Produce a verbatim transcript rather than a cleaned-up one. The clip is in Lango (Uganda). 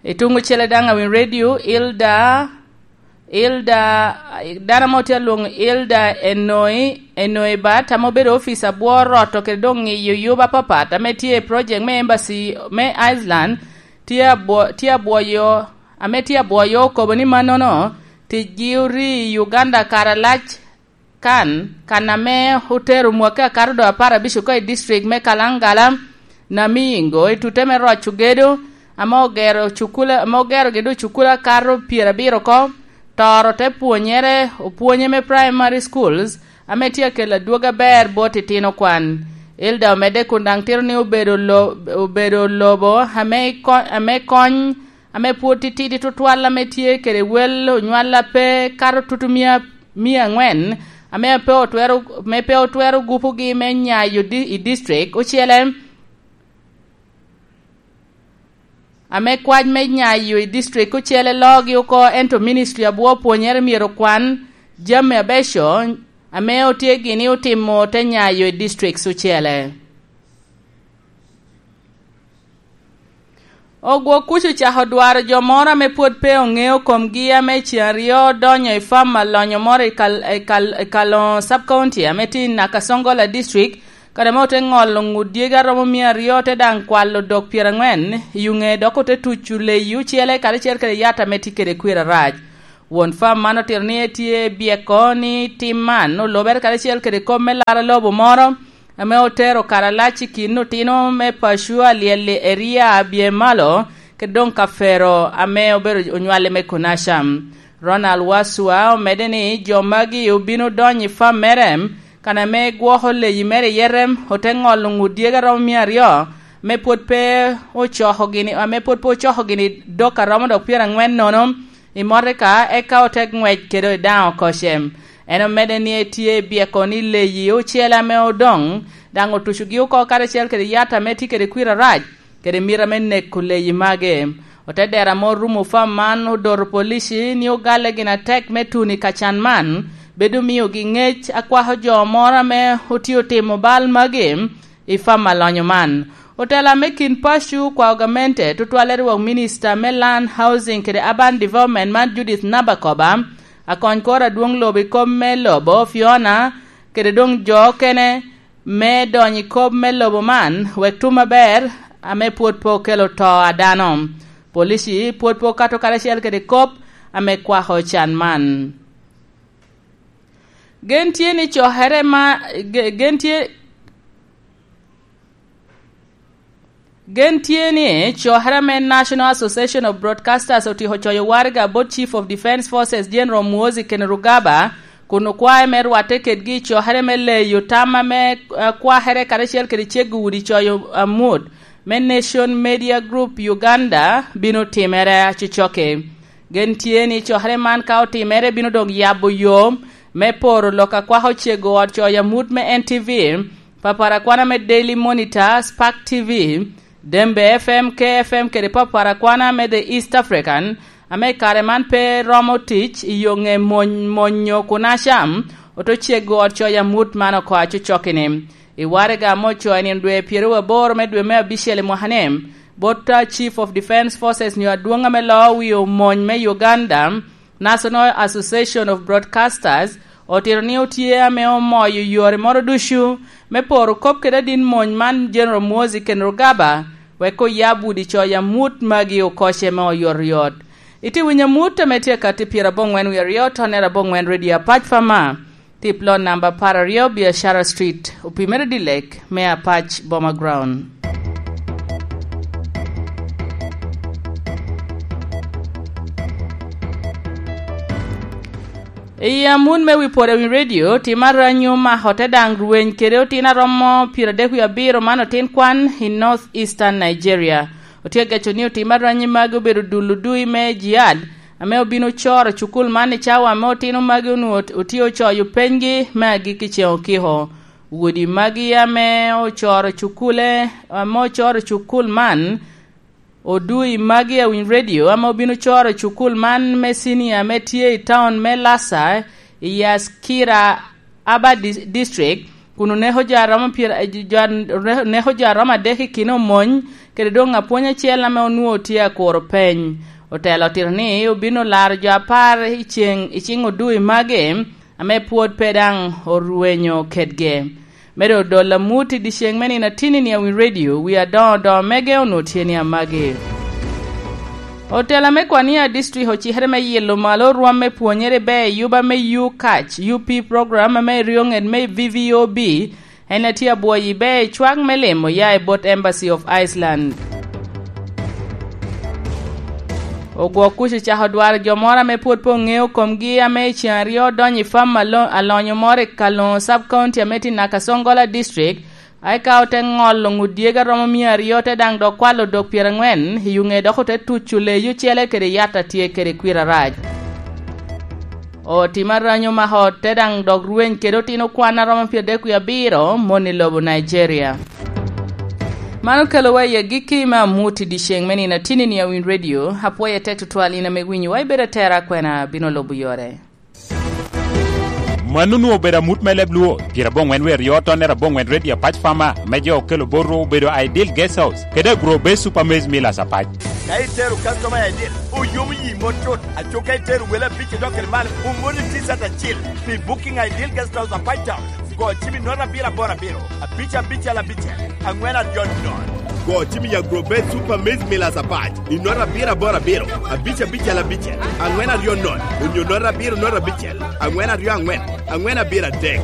I tuŋ ocele daŋ awiny redio, Ilda, Ilda, dano amo tye alwoŋo Ilda Enoi, Enoi Bat, ame obedo ofica bwor roto kede doŋ ŋiyo yub apapat ame tye i project me embassy me Iceland, tye abwo-, tye abwoyo, ame tye abwoyo okobo ni mannono ticgi ori i Uganda kare alac kan, kan ame otero mwaki akato doŋ apar abic oko i district me Kalangala, Namingo, i tute me roco gedo, ame ogero cukula, ame ogero gedo cukula akato pyerabiro oko, toro te pwonyere, opwonye me primary schools, ame tye akelo adwogi aber bot itino kwan. Elda omedde kun daŋ tito ni obedo lo-, obedo lobo ame ko-, ame kony ame pwod titidi tutwal ame tye kede wel onywal a pe kato tutu mia, mia angwen, ame pe otwero, ame pe otwero gupogi me nyayo di-, i district ocele, ame kwac me nyayo i district ocele loogi oko, ento ministry abwo pwonyere myero okwan jami abeco ame otye gini otimo te nyayo i districts ocele. Ogwok kuc ocako dwaro jo moro ame pwod pe oŋeo komgi, ame ceŋ aryo odonyo i fam alonyo moro i Kal-, i Kal-, i Kaloŋo Sub County, ame tye i Nakasongola District, kare ame ote ŋolo ŋut dyegi aromo mia aryo, te daŋ kwalo dok pyerangwen i ŋe, dok ote tuco leyi ocele karacel kede yat ame tye kede kwir arac. Won fam man otito ni etye byeko ni tim man olubere karacel kede kop me laro lobo moro, ame otero kare alac i kin otino me paco alyel i eria a Byemalo, kede doŋ Kafero ame obedo onywale me Konasham. Ronald Waswa omedde ni jo magi obino donyo i fam mere, kan ame gwoko leyi mere i Yerem, ote ŋolo ŋut dyegi aromo mia aryo, ame pwod pe ocoko gini, ame pwod pe ocoko gini dok aromo dok pyerangwen nono, i motoka, eka ote ŋwec kede i daŋ oko cem. En omedde ni etye i byeko ni leyi ocele ame odoŋ, daŋ otucogi oko karacel kede yat ame tye kede kwir arac, kede mita me neko leyi magi. Ote dero ame orumo fam man odoto polici ni ogale gin atek me tuno i kacan man, bedo miogi ŋec akwako jo moro ame otye otimo bal magi, i fam alonyo man. Otela me kin paco okwao gamente, tutwalle rwok minista me Land, Housing kede Urban Development man Judith Nabakoba, akony kor adwoŋ lobo i kop me lobo Fiona, kede doŋ jo okene me donyo i kop me lobo man, wek tum aber ame pwod pe okelo to a dano. Polici pwod pe okato karacel kede kop ame kwako can man. Gen tye ni cokere ma, ge-, gen tye, gen tye ni cokere me National Association of Broadcasters otyeko coyo waraga bot Chief of Defence Forces General Muhoozi Kainerugaba, kun okwae me rwatte kedgi i cokere me leyo tam ame, eh, kwakere karacel kede cego udi coyo amut me Nation Media Group Uganda bino timere acocokki. Gen tye ni cokere man ka otimere bino doŋ yabo yo me poro lok a kwako cego ot coyo amut me N T V, papara kwana me Daily Monitor, Spark T V, Dembe F M, K F M kede papara kwana me The East African, ame i kare man pe romo tic i yo ŋe mony-, monyo kun acam, oto cego ot coyo amut man oko acocokki-ni. I waraga ame ocoyo i nino dwe pyeraryo aboro me dwe me abicel i mwaka-ni, bot, ah, Chief of Defence Forces nyo adwoŋ ame loo wi omony me Uganda, National Association of Broadcasters, otito ni otye ame omoyo yore moro ducu me poro kop kede adit mony man General Muhoozi Kainerugaba, wek oyab udi coyo amut magi oko cem me oyotoyot. Itye winyo amut ame tye akatti pyeraboŋwen wie aryo, tonnere aboŋwen Radio Apac Fama. Tip lot namba apar aryo, Biashara Street, opimere dilek me Apac Boma Ground. I amun me wi pwod a wi radio, tim aranyi omako te daŋ rweny kede otin aromo pyeradek wie abiro man otin kwan i North Eastern Nigeria. Otye ageco ni otim aranyi magi obedo dul odui me jihad, ame obino coro cukul man i cawa ame otino magi onwoŋo ot-, otye ocoyo penygi me agikki ceŋ okiko. Wodi magi ame ocoro cukule, ame ocoro cukul man, odui magi a winy radio ame obino coro cukul man me cinia ame tye i taun me Lasa, i Askira Aba Dis-, District, kun oneko jo a romo pyera-, jo a neko jo a romo adek i kin omony, kede doŋ apwony acel ame onwoŋo tye akuro peny. Otelo otito ni obino laro jo apar i ceŋ, i ciŋ odui magi, ame pwod pe daŋ orwenyo kedgi. Medo odol amut i dyeceŋ me nino atinni a Winy Radio, wi adoŋo odoŋo mege onwoŋo tye ni amagi. Otela me Kwania District ocikere me yilo malo rwom me pwonyere i ber yuba me U-Catch, U P program ame ryo ŋet me V V O B, en a tye abwoyo i ber cwak me limo ya i bot Embassy of Iceland. Ogwok kuc ocako dwaro jo moro ame pwod pe oŋeo komgi ame i ceŋ aryo odonyo i fam alo-, alonyo moro i Kalongo Sub County ame tye i Nakasongola District, eka ote ŋolo ŋut dyegi aromo mia aryo, te daŋ dok kwalo dok pyerangwen i ŋe, dok ote tuco leyi ocele kede yat a tye kede kwir arac. Otimo aranyo mako te daŋ dok rweny kede otino kwan aromo pyerdek wie abiro, mon i lobo Nigeria. Man okelowa i agikki me amut i dyeceŋ me nino atinni a Winy Radio. Apwoyo atek tutwal in ame winyowa, ibedo atera akwena, bino lubo yore. Mano onwoŋo obedo amut me leb Luo, pyeraboŋwen wie aryo tonnere aboŋwen Red Apac Farmer, me jo okelo botwu obedo Ideal Guest House, kede Agro Base Super Maize Millers Apac. Ka itero customer Ideal, oyomo yi mot tut. Aco ka itero wele abic idok kede malo, omoni T-shirt acil pi booking Ideal Guest House Apac Town. Go cim i note abiro aboro abiro, abic abicel abicel, aŋwen aryo nono. Go cim i Agro Base Super Maize Millers Apac i note abiro aboro abiro, abic abicel abicel, aŋwen aryo nono, onyo note abiro note abicel, aŋwen aryo aŋwen, aŋwen abiro adek.